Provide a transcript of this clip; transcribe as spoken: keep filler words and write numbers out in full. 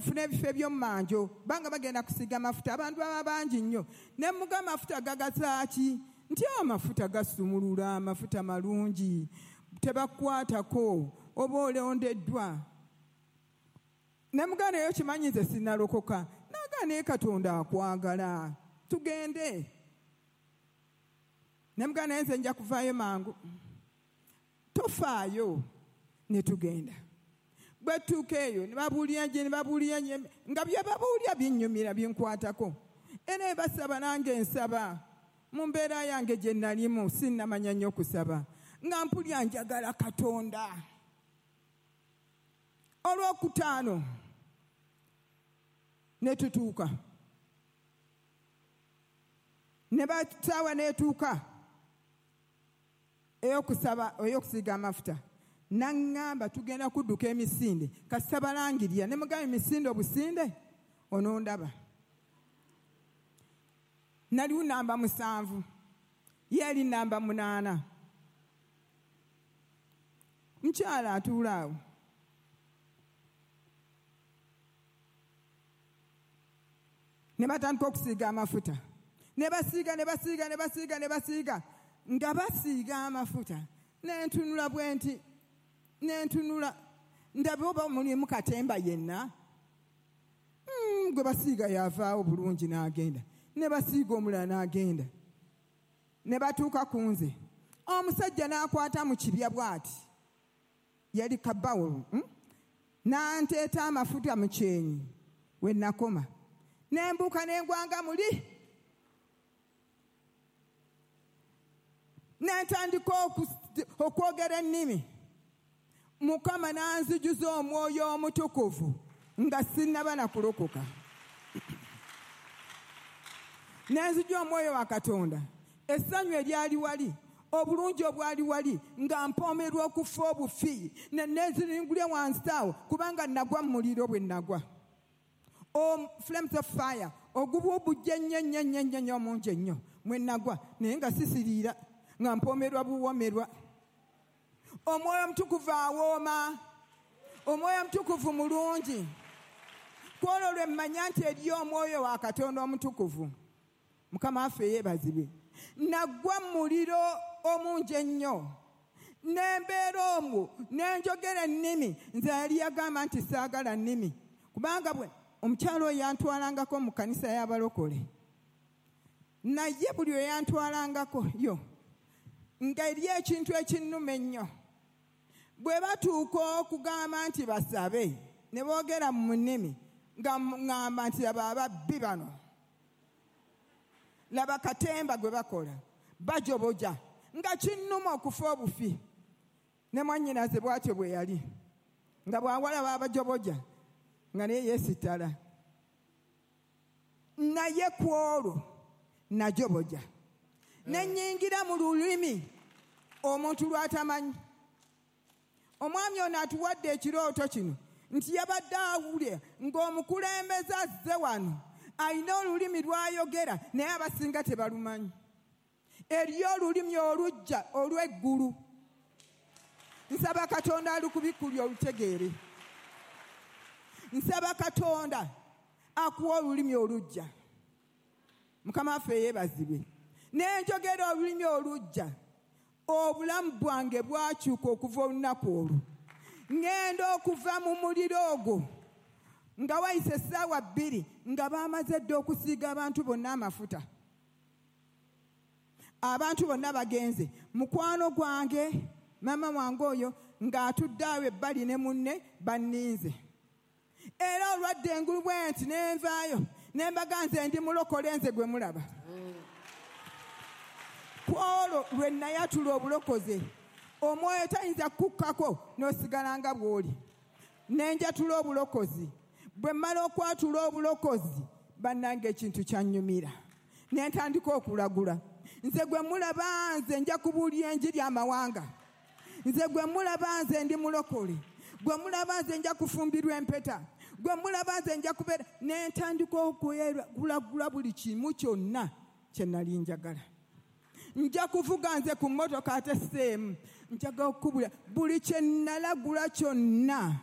tufune ebifo eby'omumanjo banga bagenda kusiiga amafuta abantu baba bangi nnyo ne muga amafuta gagasaaki nti amafuta gasumulula amafuta malungi tebakwatako oba olondeddwa ne muga naye okimanyi nze sinnalokoka naga naye Katonda akwagala tugende ne muga naye nze nja kuvaayo mangu tofaayo ne tugenda bwe tutuuka eyo ne babuulira nje ne babuulira nje nga bye babuulira binnyumira binkwatako era basaba nange nsaba mu mbeera yange gye nalimu sinnamanya nnyo kusaba nga mpulira njagala Katonda. Olwokutaano ne tutuuka ne basaawa n'etuuka ey'okusaba ey'okusiiga amafuta naŋŋamba tugenda kudduka emisinde kasita balangirira ne mugamba emisinde obusinde onondaba naliwo namba musanvu ye ali namba munaana mukyala atuula awo ne batandika okusiiga amafuta ne basiiga ne basiiga ne basiiga ne basiiga nga basiiga amafuta nentunula bwe nti nentunula ndabe oba mulimu katemba yenna mm, gwe basiiga yavaawo bulungi n'agenda ne basiiga omulala n'agenda ne batuuka ku nze omusajja n'akwata mu kibya bw'ati yali kabawolo mm? n'anteeta amafuta mu kyenyi we nakoma ne mbuuka ne ngwanga muli ne ntandika okwogera ennimi Mukama n'anzijuza omwoyo omutukuvu nga sinnaba na kulokoka n'anzija omwoyo wa Katonda essanyu eryali wali obulungi obwali wali nga mpoomerwa okufa obufi ne neziringulya wansi awo kubanga nagwa mu muliro bwe nagwa o flames of fire ogubuubujja ennyo ennyo ennyo ennyo nnyo omungi ennyo mwe nagwa naye nga sisiriira nga mpoomerwa buwoomerwa. Omwoyo omutukuvu awooma omwoyo omutukuvu mulungi kwolwo lwe mmanya nti eriyo omwoyo wa Katonda omutukuvu Mukama waffe yeebazibwe. Nagwa mu muliro omungi ennyo nembeera omwo nenjogera ennimi nze yali yagamba nti saagala nnimi kubanga bwe omukyalo oyo yantwalangako mu kkanisa y'abalokole naye buli oyo yantwalangako yo nga eri ekintu ekinnuma ennyo bwe batuuka okugamba nti basabe ne boogera mu nnimi nga ŋŋamba nti laba ababbi bano laba katemba gwe bakola bajoboja nga kinnuma okufa obufi ne mwannyinaze bw'atyo bwe yali nga bw'awalaba abajoboja nga naye yeesittala naye ku olwo najoboja ne nnyingira mu lulimi omuntu lw'atamanyi. Omwami ono atuwadde ekirooto kino nti yabadde awulira ng'omukulembeze azze wano alina olulimi lw'ayogera naye abasinga tebalumanyi. Eriyo olulimi olujja olw'eggulu nsaba Katonda alukubikkulye olutegeere nsaba Katonda akuwa olulimi olujja Mukama waffe yeebazibwe. Nenjogera olulimi olujja obulamu bwange bwakyuka okuva olunaku olwo ŋŋenda okuva mu muliro ogwo nga wayise essaawa bbiri nga baamaze dda okusiiga abantu bonna amafuta abantu bonna bagenze mukwano gwange maama wange oyo ng'atudde awo ebbali ne munne banninze era olwadde engulu bwe nti ne nvaayo ne mbaga nze ndi mulokole nze gwe mulaba ku olwo lwe nayatula obulokoze omwoyo tayinza kukukkako n'osigala nga bw'oli ne njatula obulokozi bwe mmala okwatula obulokozi bannange ekintu kyannyumira ne ntandika okulagula nze gwe mulaba nze nja kubuulira enjiri amawanga nze gwe mulaba nze ndi mulokole gwe mulaba nze nja kufumbirwa empeta gwe mulaba nze nja kubeera ne ntandika okulagula buli kimu kyonna kye nali njagala nja kuvuga nze ku mmotoka ate seemu njagala okukubula buli kye nalagula kyonna